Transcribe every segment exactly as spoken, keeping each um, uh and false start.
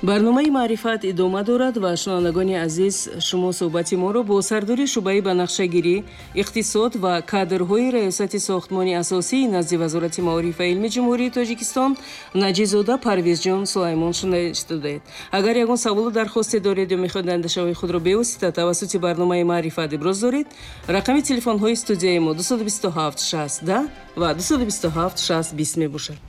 Барномаи маърифат идома дорад ва шунавандагони азиз, шумо суҳбати моро бо сардори шӯъбаи банақшагирӣ, иқтисод ва кадрҳои раёсати сохтмони асосии назди Вазорати маориф ва илми Ҷумҳурии Тоҷикистон Наҷизода Парвизҷон Сулаймон шунидаед. Агар ягон саволу дархосте доред ё мехоҳед андешаҳои худро бевосита тавассути барномаи маърифат иброз доред, рақами телефонҳои студияи мо дусаду бисту ҳафт шаст даҳ ва дусаду бисту ҳафт шаст бист мебошад.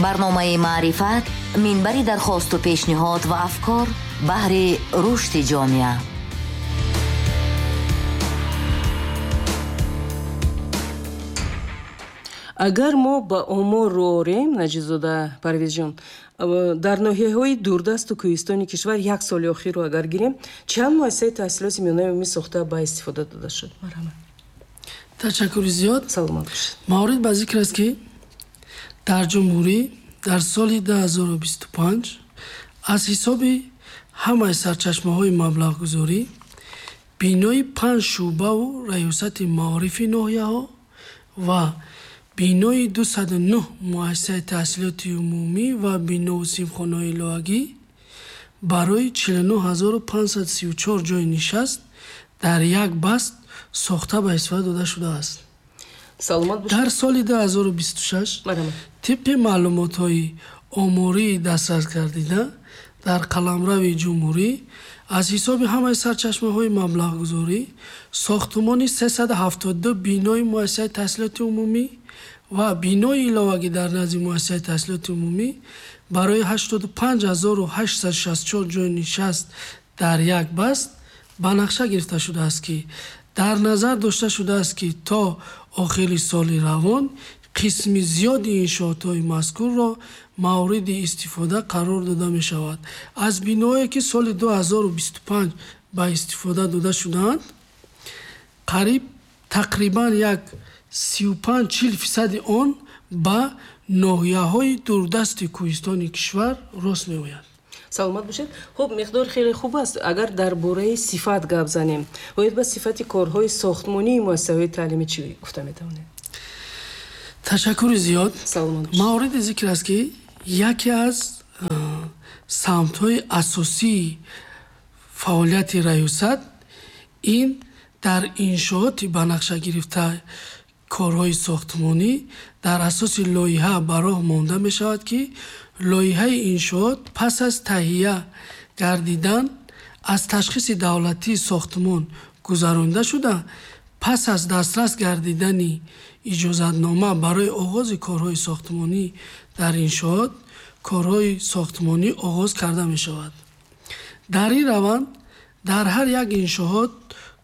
Барномаи маърифат минбари дархосту пешниҳод ва афкор баҳри рушди ҷомеа. Агар мо ба омор рӯ орем, Наҷизода Парвизҷон, дар ноҳияҳои дурдасту кӯҳистони кишвар як соли охирро агар гирем, чанд муассисаи таҳсилоти миёнаи умумӣ сохта ба истифода дода шуд? Марҳамат. Ташаккури зиёд. Саломат бошед. Маврид ба зикр аст, ки дар ҷумҳурӣ дар соли ду ҳазору бисту панҷ аз ҳисоби ҳамаи сарчашмаҳои маблағгузорӣ бинои панҷ шӯъбаву раёсати маорифи ноҳияҳо ва бинои дусаду нӯҳ муассисаи таҳсилоти умумӣ ва бинову синфхонаҳои иловагӣ барои чилу нӯҳ ҳазору панҷсаду сию чор ҷойи нишаст дар як баст сохта ба истифода дода шудааст. Саломат бошед. Дар соли ду ҳазору бисту шаш тибқи маълумотҳои омории дастрас гардида дар қаламрави ҷумҳурӣ аз ҳисоби ҳамаи сарчашмаҳои маблағгузорӣ сохтумони сесаду ҳафтоду ду бинои муассисаи таҳсилоти умумӣ ва бинои иловагӣ дар назди муассисаи таҳсилоти умумӣ барои ҳаштоду панҷ ҳазору ҳаштсаду шасту чор ҷойи нишаст дар як баст ба нақша гирифта шудааст, ки дар назар дошта шудааст, ки то охири соли равон қисми зиёди иншоотҳои мазкурро мавриди истифода қарор дода мешавад. Аз биноҳое ки соли ду ҳазору бисту панҷ ба истифода дода шудаанд, қариб тақрибан як сию панҷ чил фисади он ба ноҳияҳои дурдасти кӯҳистони кишвар рост меояд. Саломат бошед. Хуб, миқдор хеле хуб аст. Агар дар бораи сифат гап занем, оид ба сифати корҳои сохтмонии муассисаҳои таълимӣ чӣ гуфта метавонед? Ташаккури зиёд. Саломат бошед. Мавриди зикр аст, ки яке аз самтҳои асосии фаъолияти раёсат ин дар иншооти ба нақша гирифта корҳои сохтмонӣ дар асоси лоиҳа ба роҳ монда мешавад, ки лоиҳаи иншоот пас аз таҳия гардидан аз ташхиси давлатии сохтмон гузаронида шуда, пас аз дастрас гардидани иҷозатнома барои оғози корҳои сохтмонӣ дар иншоот корҳои сохтмонӣ оғоз карда мешавад. Дар ин раванд дар ҳар як иншоот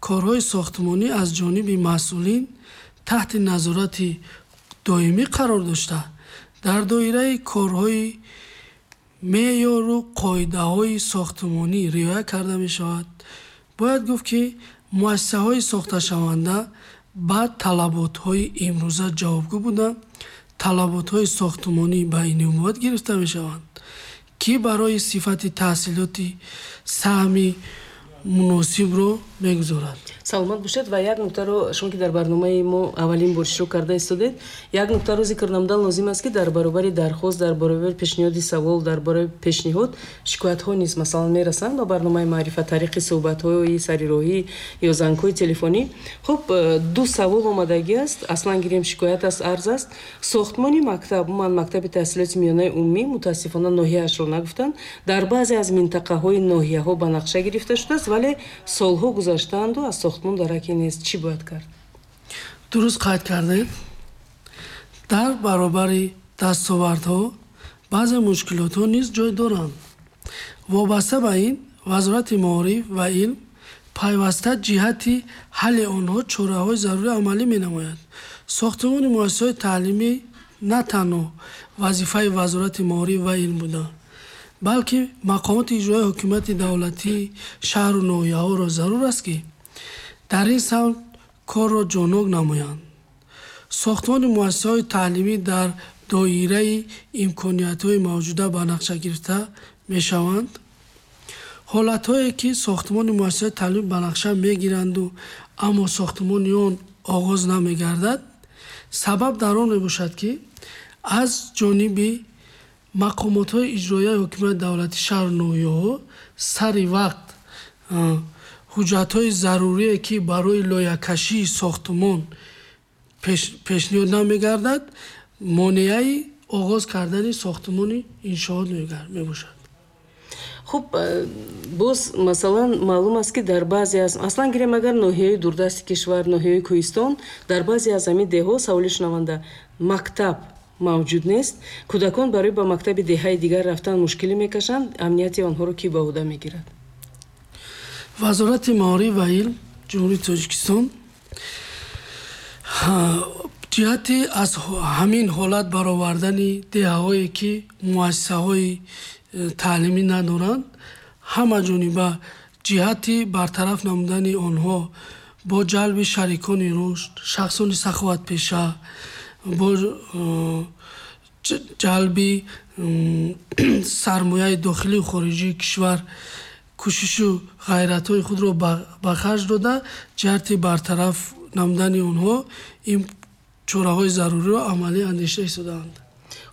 корҳои сохтмонӣ аз ҷониби масъулин таҳти назорати доимӣ қарор дошта, дар доираи корҳои меъёру қоидаҳои сохтмонӣ риоя карда мешавад. Бояд гуфт, ки муассисаҳои сохташаванда ба талаботҳои имрӯза ҷавобгӯ буда, талаботҳои сохтмонӣ ба инобат гирифта мешаванд, ки барои сифати таҳсилоти саҳми муносибро мегузорад. Саломат бошед. Ва як нуктаро шумо ки дар барномаи мо аввалин бор иштирок карда истодед, як нуктаро зикр намудан лозим аст, ки дар баробари дархост, дар баробари пешниҳоди савол, дар баробари пешниҳод шикоятҳо низ масалан мерасанд ба барномаи маърифат тариқи суҳбатҳои сарироҳӣ ё зангҳои телефонӣ. Хуб, ду савол омадагӣ аст. Аслан гирем шикоят аст, арз аст. Сохтмони мактаб, умуман мактаби таҳсилоти миёнаи умумӣ, мутаассифона ноҳияашро нагуфтанд, дар баъзе аз минтақаҳои ноҳияҳо ба нақша гирифта шудааст, вале солҳо гузаштаанду аз сохтмон дараке нест. Чӣ бояд кард? Дуруст қайд кардед. Дар баробари дастовардҳо баъзе мушкилотҳо низ ҷой доранд. Вобаста ба ин, Вазорати маориф ва илм пайваста ҷиҳати ҳалли онҳо чораҳои зарурӣ амалӣ менамояд. Сохтмони муассисаҳои таълимӣ на танҳо вазифаи Вазорати маориф ва илм буда, балки мақомоти иҷроияи ҳукумати давлатии шаҳру ноҳияҳоро зарур аст, ки дар ин самт корро ҷоннок намоянд. Сохтмони муассисаҳои таълимӣ дар доираи имкониятҳои мавҷуда ба нақша гирифта мешаванд. Ҳолатҳое ки сохтмони муассисаҳои таълимӣ ба нақша мегиранду, аммо сохтмони он оғоз намегардад, сабаб дар он мебошад, ки Аз ҷониби мақомотҳои иҷроияи ҳокимияти давлати шаҳру ноҳияҳо сари вақт ҳуҷҷатҳои зарурие, ки барои лоиҳакашии сохтмон пешниҳод намегардад, монеаи оғоз кардани сохтмони иншоот мебошад. Хуб, боз масалан маълум аст, ки дар баъзе аз аслан гирем агар ноҳияи дурдасти кишвар, ноҳияи кӯҳистон, дар баъзе аз ҳамин деҳҳо, саволи шунаванда, мактаб мавҷуд нест, кӯдакон барои ба мактаби деҳаи дигар рафтан мушкилӣ мекашанд, амнияти онҳоро кӣ ба ӯҳда мегирад? Вазорати маориф ва илм Ҷумҳурии Тоҷикистон ҷиҳати аз ҳамин ҳолат баровардани деҳаҳое, ки муассисаҳои таълимӣ надоранд, ҳама ҷониба ҷиҳати бартараф намудани онҳо бо ҷалби шарикони рушд, шахсони саховатпеша, бо ҷалби сармояи дохилию хориҷии кишвар кӯшишу ғайратҳои худро ба харҷ дода, ҷиҳати бартараф намудани онҳо ин чораҳои заруриро амалӣ андеша истодаанд.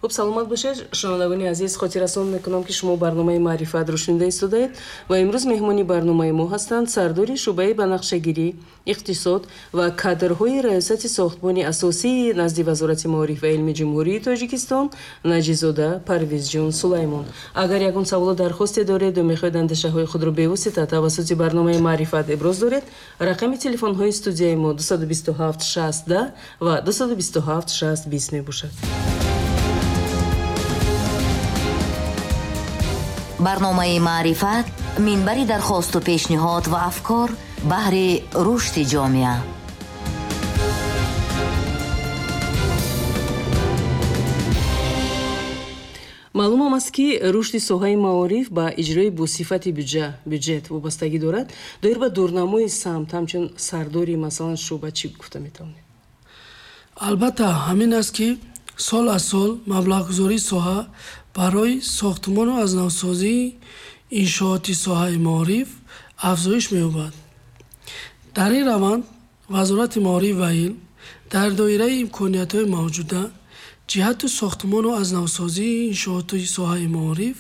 Хуб, саломат бошед, шунавандагони азиз. Хотиррасон мекунам, ки шумо барномаи маърифатро шунида истодаед ва имрӯз меҳмони барномаи мо ҳастанд сардори шӯъбаи банақшагирӣ, иқтисод ва кадрҳои раёсати сохтмони асосии назди Вазорати маориф ва илми Ҷумҳурии Тоҷикистон Наҷизода Парвизҷон Сулаймон. Агар ягон саволу дархосте доред ва мехоҳед андешаҳои худро бевосита тавассути барномаи маърифат иброз доред, рақами телефонҳои студияи мо дусаду бисту ҳафт шаст даҳ ва дусаду бисту ҳафт шаст бист мебошад. Барномаи маърифат минбари дархосту пешниҳод ва афкор баҳри рушди ҷомеа. Маълумам аст, ки рушди соҳаи маориф ба иҷрои босифати бюҷет вобастагӣ дорад. Доир ба дурнамои самт ҳамчун сардори масалан шӯъба чӣ гуфта метавонед? Албатта, ҳамин аст, ки сол аз сол маблағгузории соҳа барои сохтмону аз навсозии иншооти соҳаи маориф афзоиш меёбад. Дар ин раванд Вазорати маориф ва илм дар доираи имкониятҳои мавҷуда ҷиҳати сохтмону аз навсозии иншооти соҳаи маориф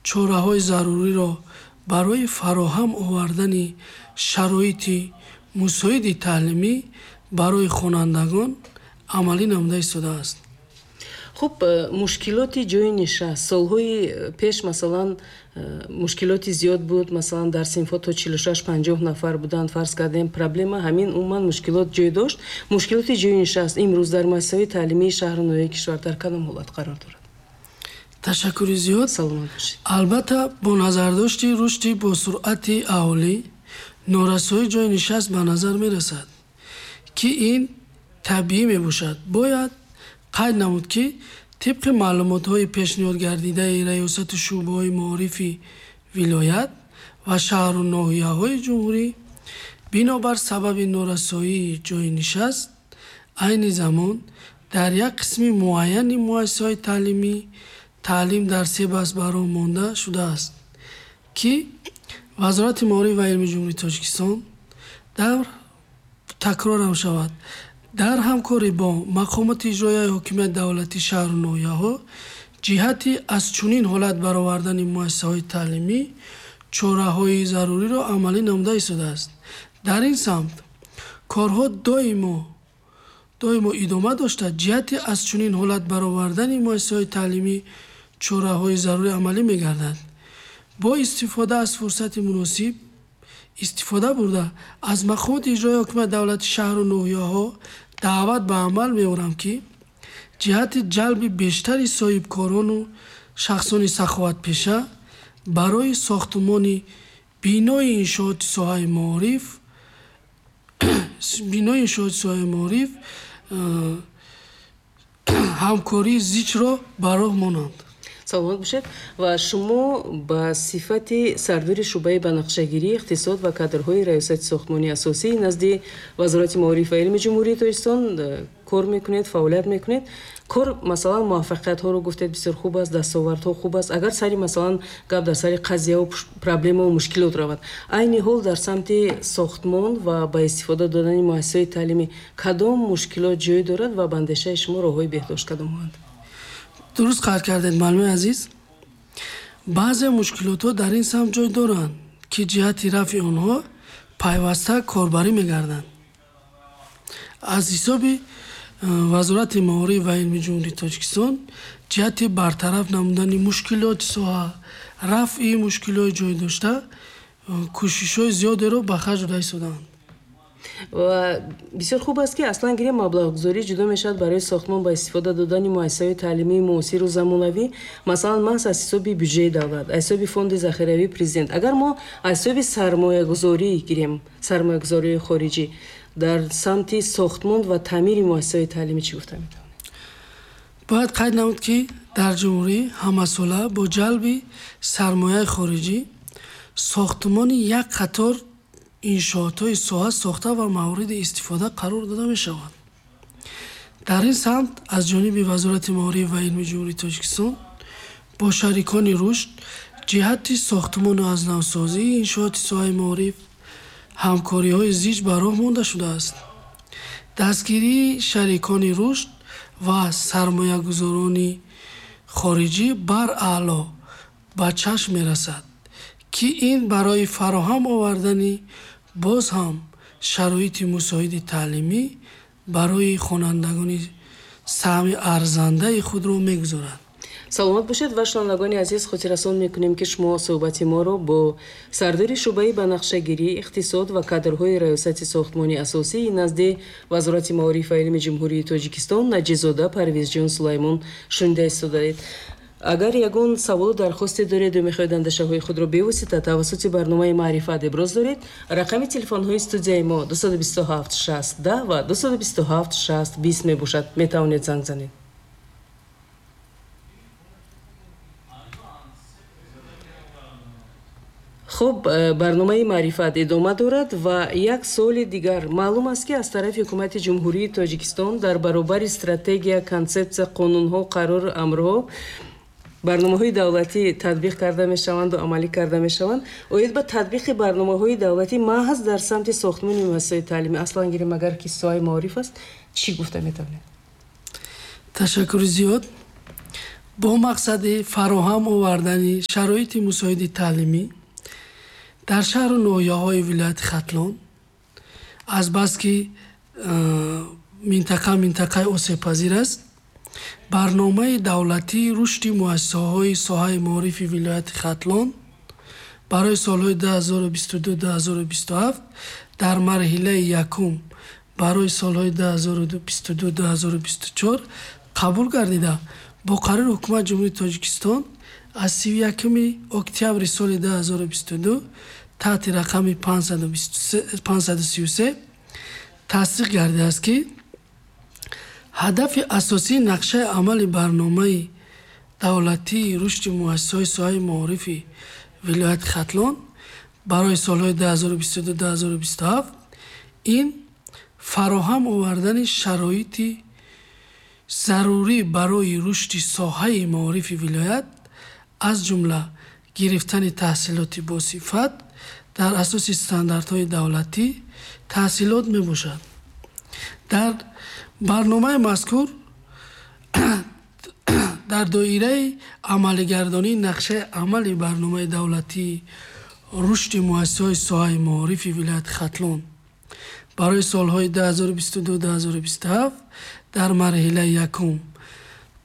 чораҳои заруриро барои фароҳам овардани шароити мусоиди таълимӣ барои хонандагон амалӣ намуда истодааст. Хуб, мушкилоти ҷойи нишаст солҳои пеш масалан мушкилоти зиёд буд, масалан дар синфҳо то чилу шаш панҷоҳ нафар буданд, фарз кардем проблема ҳамин умуман мушкилот ҷой дошт. Мушкилоти ҷойи нишаст имрӯз дар муассисаҳои таълимии шаҳру ноҳияи кишвар дар кадом ҳолат қарор дорад? Ташаккури зиёд. Саломат бошед. Албатта, бо назардошти рушди босуръати аҳолӣ норасоии ҷойи нишаст ба назар мерасад, ки ин табиӣ мебошад. Бояд қайд намуд, ки тибқи маълумотҳои пешниҳодгардидаи раёсати шӯъбаҳои маорифи вилоят ва шаҳру ноҳияҳои ҷумҳурӣ, бинобар сабаби норасоии ҷойи нишаст, айни замон дар як қисми муайяни муассисаҳои таълимӣ таълим дар се баст ба роҳ монда шудааст, ки Вазорати маориф ва илми Ҷумҳурии Тоҷикистон дар такрорам шавад дар ҳамкорӣ бо мақомоти иҷроияи ҳокимияти давлати шаҳру ноҳияҳо ҷиҳати аз чунин ҳолат баровардани муассисаҳои таълимӣ чораҳои заруриро амалӣ намуда истодааст. Дар ин самт корҳо доимо доимо идома дошта, ҷиҳати аз чунин ҳолат баровардани муассисаҳои таълимӣ чораҳои зарурӣ амалӣ мегардад. Бо истифода аз фурсати муносиб истифода бурда аз мақомоти иҷроияи ҳокимияти давлати шаҳру ноҳияҳо даъват ба амал меорам, ки ҷиҳати ҷалби бештари соҳибкорону шахсони саховатпеша барои сохтмони бинои иншооти соҳаи маориф бинои иншооти соҳаи маориф ҳамкории зичро ба роҳ монанд. Саломат бошед. Ва шумо ба сифати сардори шӯъбаи банақшагирӣ, иқтисод ва кадрҳои раёсати сохтмони асосӣ назди Вазорати маориф ва илми Ҷумҳурии Тоҷикистон кор мекунед, фаъолият мекунед. Кор масалан муваффақиятҳоро гуфтед бисёр хуб аст, дастовардҳо хуб аст. Агар сари масалан гап дар сари қазияву проблемаву мушкилот равад, айни ҳол дар самти сохтмон ва ба истифода додани муассисаҳои таълимӣ кадом мушкилот ҷой дорад ва ба андешаи шумо роҳҳои беҳдошт кадомҳоанд? Дуруст қайд кардед, муаллими азиз. Баъзе мушкилотҳо дар ин самт ҷой доранд, ки ҷиҳати рафъи онҳо пайваста корбарӣ мегарданд. Аз ҳисоби Вазорати маориф ва илми Ҷумҳурии Тоҷикистон ҷиҳати бартараф намудани мушкилоти соҳа, рафъи мушкилиҳои ҷой дошта, кӯшишҳои зиёдеро ба харҷ дода истодаанд. Ва бисёр хуб аст, ки аслан гирем маблағгузорӣ ҷудо мешавад барои сохтмон ба истифода додани муассисаҳои таълимии муосиру замонавӣ, масалан маҳз аз ҳисоби бюҷети давлат, аз ҳисоби фонди захиравии президент. Агар мо аз ҳисоби сармоягузорӣ гирем, сармоягузории хориҷӣ дар самти сохтмон ва таъмири муассисаҳои таълимӣ чӣ гуфта метавонед? Бояд қайд намуд, ки дар ҷумҳурӣ ҳамасола бо ҷалби сармояи хориҷӣ сохтмони як қатор иншоотҳои соҳа сохта ва мавриди истифода қарор дода мешавад. Дар ин самт аз ҷониби Вазорати маориф ва илми Ҷумҳурии Тоҷикистон бо шарикони рушд ҷиҳати сохтмону аз навсозии иншооти соҳаи маориф ҳамкориҳои зич ба роҳ монда шудааст. Дастгирии шарикони рушд ва сармоягузорони хориҷӣ бараъло ба чашм мерасад, ки ин барои фароҳам овардани боз ҳам шароити мусоиди таълимӣ барои хонандагони саҳми арзандаи худро мегузорад. Саломат бошед ва шунавандагони азиз, хотиррасон мекунем, ки шумо суҳбати моро бо сардори шӯъбаи банақшагирӣ, иқтисод ва кадрҳои Раёсати сохтмони асосии назди Вазорати маориф ва илми Ҷумҳурии Тоҷикистон Наҷизода Парвизҷон Сулаймон шунида истодаед. Агар ягон саволу дархосте доред ё мехоҳед андешаҳои худро бевосита тавассути барномаи Маърифат иброз доред, рақами телефонҳои студияи мо дусаду бисту ҳафт шаст даҳ ва дусаду бисту ҳафт шаст бист мебошад. Метавонед занг занед. Хуб, барномаи Маърифат идома дорад ва як суоли дигар. Маълум аст, ки аз тарафи Ҳукумати Ҷумҳурии Тоҷикистон дар баробари стратегия, консепсия, қонунҳо, қарору амрҳо барномаҳои давлатӣ татбиқ карда мешаванду амалӣ карда мешаванд. Оид ба татбиқи барномаҳои давлатӣ маҳз дар самти сохтмони муассисаҳои таълимӣ, аслан гирем агар ки соҳаи маориф аст, чӣ гуфта метавонед? Ташаккури зиёд. Бо мақсади фароҳам овардани шароити мусоиди таълимӣ дар шаҳру ноҳияҳои вилояти Хатлон, азбаски минтақа минтақаи осебпазир аст, барномаи давлатии рушди муассисаҳои соҳаи маорифи вилояти Хатлон барои солҳои ду ҳазору бисту ду ду ҳазору бисту ҳафт дар марҳилаи якум барои солҳои ду ҳазору бисту ду ду ҳазору бисту чор қабул гардида, бо қарори Ҳукумати Ҷумҳурии Тоҷикистон аз сию якуми октябри соли ду ҳазору бисту ду таҳти рақами панҷсаду сию се тасдиқ гардидааст, ки ҳадафи асосии нақшаи амали барномаи давлатии рушди муассисаҳои соҳаи маорифи вилояти Хатлон барои солҳои ду ҳазору бисту ду ду ҳазору бисту ҳафт ин фароҳам овардани шароити зарурӣ барои рушди соҳаи маорифи вилоят, аз ҷумла гирифтани таҳсилоти босифат дар асоси стандартҳои давлатӣ таҳсилот мебошад. Дар барномаи мазкур дар доираи амалигардонии нақшаи амали барномаи давлатии рушди муассисаҳои соҳаи маорифи вилояти Хатлон барои солҳои ду ҳазору бисту ду ду ҳазору бисту ҳафт дар марҳилаи якум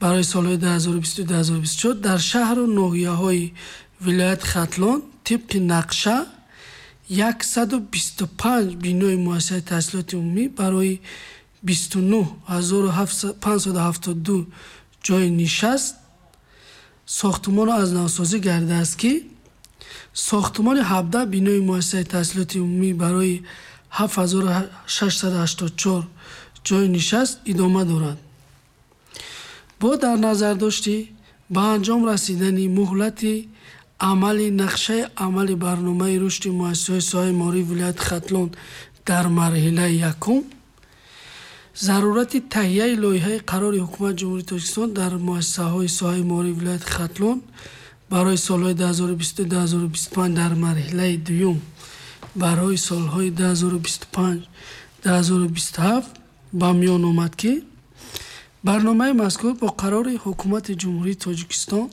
барои солҳои ду ҳазору бисту ду ҳазору бисту чор дар шаҳру ноҳияҳои вилояти Хатлон тибқи нақша яксаду бисту панҷ бинои муассисаи таҳсилоти умумӣ барои бисту нӯҳ ҳазору панҷсаду ҳафтоду ду ҷойи нишаст сохтмону аз навсозӣ гардидааст, ки сохтмони ҳабдаҳ бинои муассисаи таҳсилоти умумӣ барои ҳафт ҳазору шашсаду ҳаштоду чор ҷойи нишаст идома дорад. Бо дар назардошти ба анҷом расидани муҳлати амали нақшаи амали барномаи рушди муассисаҳои соҳаи маорифи вилояти Хатлон дар марҳилаи якум, зарурати таҳияи лоиҳаи қарори Ҳукумати Ҷумҳурии Тоҷикистон дар муассисаҳои соҳаи маорифи вилояти Хатлон барои солҳои ду ҳазору бисту ду ҳазору бисту панҷ дар марҳилаи дуюм барои солҳои ду ҳазору бисту панҷ ду ҳазору бисту ҳафт ба миён омад, ки Барномаи мазкур бо қарори Ҳукумати Ҷумҳурии Тоҷикистон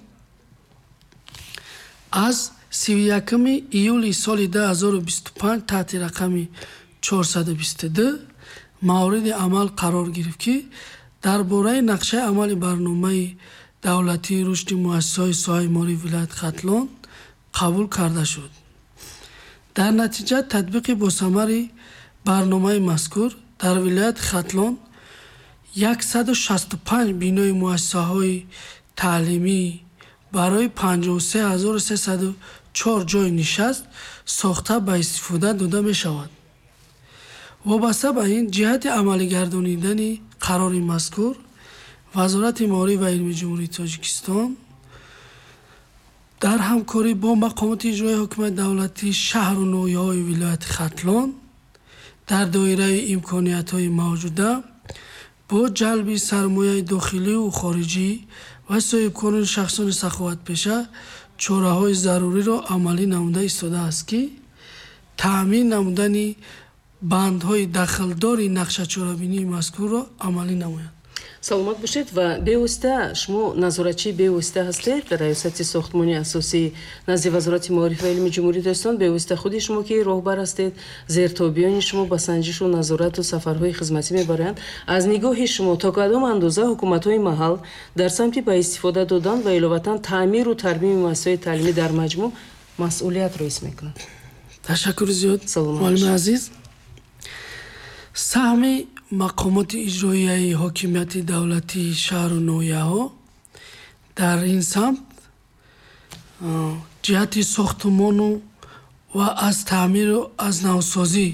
аз сиву якуми июли соли ду ҳазору бисту панҷ таҳти рақами чорсаду бисту ду мавриди амал қарор гирифт, ки дар бораи нақшаи амали барномаи давлатии рушди муассисаҳои соҳаи маорифи вилояти Хатлон қабул карда шуд. Дар натиҷа татбиқи босамари барномаи мазкур дар вилояти Хатлон яксаду шасту панҷ бинои муассисаҳои таълимӣ барои панҷоҳу се ҳазору сесаду чор ҷойи нишаст сохта ба истифода дода мешавад. Вобаста ба ин, ҷиҳати амалигардонидани қарори мазкур Вазорати маориф ва илми Ҷумҳурии Тоҷикистон дар ҳамкорӣ бо мақомоти иҷроияи ҳукумати давлатии шаҳру ноҳияҳои вилояти Хатлон дар доираи имкониятҳои мавҷуда бо ҷалби сармояи дохилию хориҷӣ ва соҳибкорони шахсони саховатпеша чораҳои заруриро амалӣ намуда истодааст, ки таъмин намудани бандҳои дахлдори нақшачорабинии мазкурро амалӣ намояд. Саломат бошед. Ва бевосита шумо назоратчии бевосита ҳастед дар раёсати сохтмони асосии назди Вазорати маориф ва илми Ҷумҳурии Тоҷикистон. Бевосита худи шумо ки роҳбар ҳастед, зертобиёни шумо ба санҷишу назорату сафарҳои хизматӣ мебаранд. Аз нигоҳи шумо то кадом андоза ҳукуматҳои маҳал дар самти ба истифода додан ва иловатан таъмиру тармими муассисаҳои таълимӣ дар маҷмӯъ масъулиятро ҳис мекунанд? Ташаккури зиёд, муаллими азиз. Саҳми мақомоти иҷроияи ҳокимияти давлатии шаҳру ноҳияҳо дар ин самт ҷиҳати сохтмону ва аз таъмиру аз навсозӣ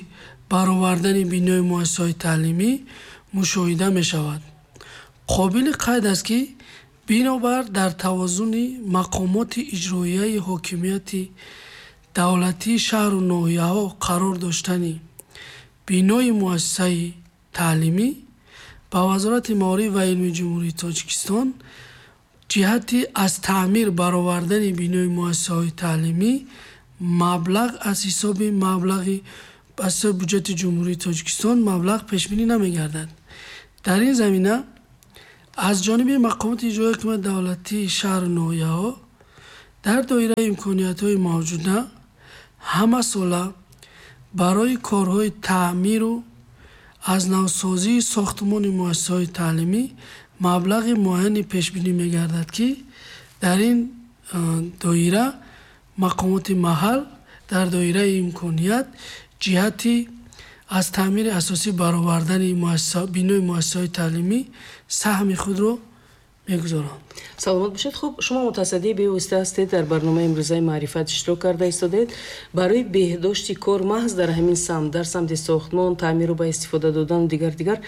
баровардани бинои муассисаҳои таълимӣ мушоҳида мешавад. Қобили қайд аст, ки бинобар дар тавозуни мақомоти иҷроияи ҳокимияти давлатии шаҳру ноҳияҳо қарор доштани бинои муассисаи таълимӣ ба Вазорати маориф ва илми Ҷумҳурии Тоҷикистон ҷиҳати аз таъмир баровардани бинои муассисаҳои таълимӣ маблағ аз ҳисоби маблағи аз ҳисоби буҷети Ҷумҳурии Тоҷикистон маблағ пешбинӣ намегардад. Дар ин замина аз ҷониби мақомоти иҷроияи ҳукумати давлатии шаҳру ноҳияҳо дар доираи имкониятҳои мавҷуда ҳамасола барои корҳои таъмиру аз навсозии сохтмони муассисаҳои таълимӣ маблағи муайяне пешбинӣ мегардад, ки дар ин доира мақомоти маҳал дар доираи имконият ҷиҳати аз таъмири асосӣ баровардани бинои муассисаҳои таълимӣ саҳми худро мегузоранд. Саломат бошед. Хуб, шумо мутасаддии бевосита ҳастед, дар барномаи имрӯзаи маърифат иштирок карда истодед. Барои беҳдошти кор маҳз дар ҳамин самт, дар самти сохтмон, таъмиру ба истифода додану дигар дигар,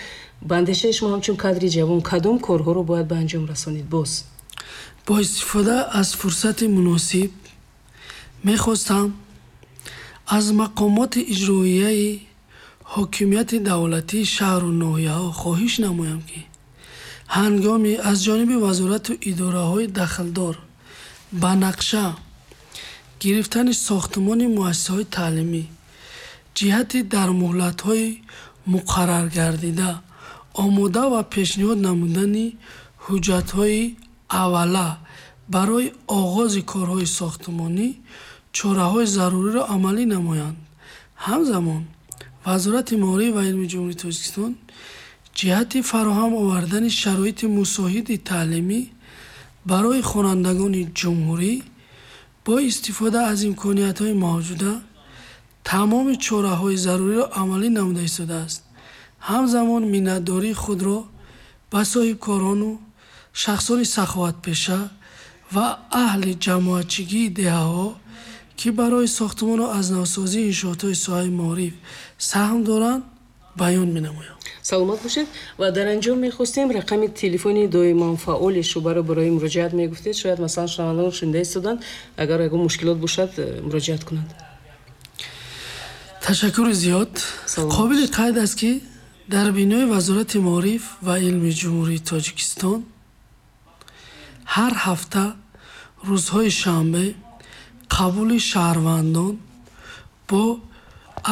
ба андешаи шумо ҳамчун кадри ҷавон кадом корҳоро бояд ба анҷом расонид боз? Бо истифода аз фурсати муносиб мехостам аз мақомоти иҷроияи ҳокимияти давлатии шаҳру ноҳияҳо хоҳиш намоям, ки ҳангоми аз ҷониби вазорату идораҳои дахлдор ба нақша гирифтани сохтмони муассисаҳои таълимӣ ҷиҳати дар муҳлатҳои муқарраргардида омода ва пешниҳод намудани ҳуҷҷатҳои аввала барои оғози корҳои сохтмонӣ чораҳои заруриро амалӣ намоянд. Ҳамзамон Вазорати маориф ва илми Ҷумҳурии Тоҷикистон ҷиҳати фароҳам овардани шароити мусоиди таълимӣ барои хонандагони ҷумҳурӣ бо истифода аз имкониятҳои мавҷуда тамоми чораҳои заруриро амалӣ намуда истодааст. Ҳамзамон миннатдории худро ба соҳибкорону шахсони саховатпеша ва аҳли ҷамоатчигии деҳаҳо, ки барои сохтмону аз навсозии иншоотҳои соҳаи маориф саҳм доранд, баён менамоям. Саломат бошед. Ва дар анҷом мехостем рақами телефони доиман фаъоли шӯъбаро барои муроҷиат мегуфтед. Шояд масалан шунавандагон шунида истоданд, агар ягон мушкилот бошад муроҷиат кунанд. Ташаккури зиёд. Қобили қайд аст, ки дар бинои Вазорати маориф ва илми Ҷумҳурии Тоҷикистон ҳар ҳафта рӯзҳои шанбе қабули шаҳрвандон бо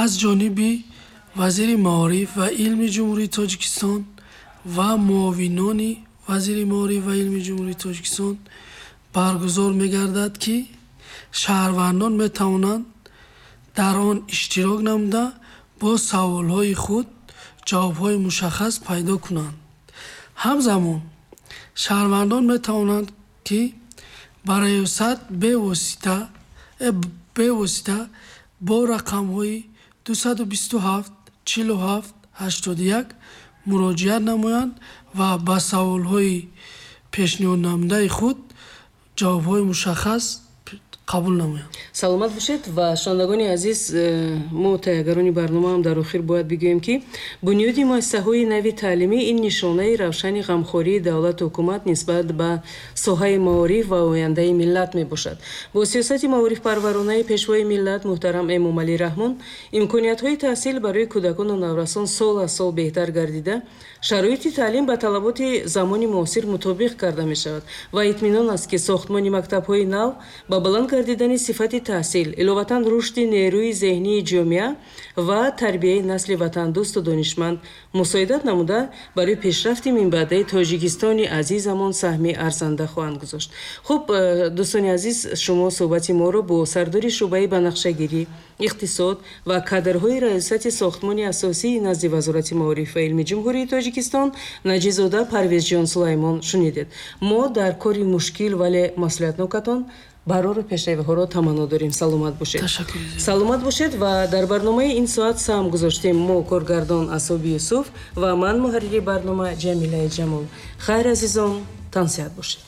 аз ҷониби вазири маориф ва илми Ҷумҳурии Тоҷикистон ва муовинони Вазири маориф ва илми Ҷумҳурии Тоҷикистон баргузор мегардад, ки шаҳрвандон метавонанд дар он иштирок намуда, бо саволҳои худ ҷавобҳои мушаххас пайдо кунанд. Ҳамзамон шаҳрвандон метавонанд, ки ба раёсат бевосита э, бевосита бо рақамҳои дусаду бисту ҳафт чилу ҳафт ҳаштоду як муроҷиат намоянд ва ба саволҳои пешниҳоднамудаи худ ҷавобҳои мушаххас қабул намоянд. Саломат бошед. Ва шунавандагони азиз, э, мо таҳиягарони барномаам дар охир бояд бигӯем, ки бунёди муассисаҳои нави таълимӣ ин нишонаи равшани ғамхории давлату ҳукумат нисбат ба соҳаи маориф ва ояндаи миллат мебошад. Бо сиёсати маорифпарваронаи Пешвои миллат муҳтарам Эмомалӣ Раҳмон имкониятҳои таҳсил барои кӯдакону наврасон сол аз сол беҳтар гардида, шароити таълим ба талаботи замони муосир мутобиқ карда мешавад ва итминон аст, ки сохтмони мактабҳои нав ба баланд гардидани сифати таҳсил, иловатан рушди нерӯи зеҳнии ҷомеа ва тарбияи насли ватандӯсту донишманд мусоидат намуда, барои пешрафти минбаъдаи Тоҷикистони азизамон саҳми арзанда хоҳанд гузошт. Хуб, э, дӯстони азиз, шумо суҳбати моро бо сардори шӯъбаи банақшагирӣ, иқтисод ва кадрҳои Раёсати сохтмони асосии назди Вазорати маориф ва илми Ҷумҳурии Тоҷикистон Наҷизода Парвезҷон Сулаймон шунидед. Мо дар кори мушкил, вале масъулиятнокатон барору пешравиҳоро таманно дорем. Саломат бошед. Саломат бошед. Ва дар барномаи ин соат саҳм гузоштем мо, коргардон Асоби Юсуф ва ман, муҳаррири барнома Ҷамилаи Ҷамол. Хайр, азизон, тансиҳат бошед.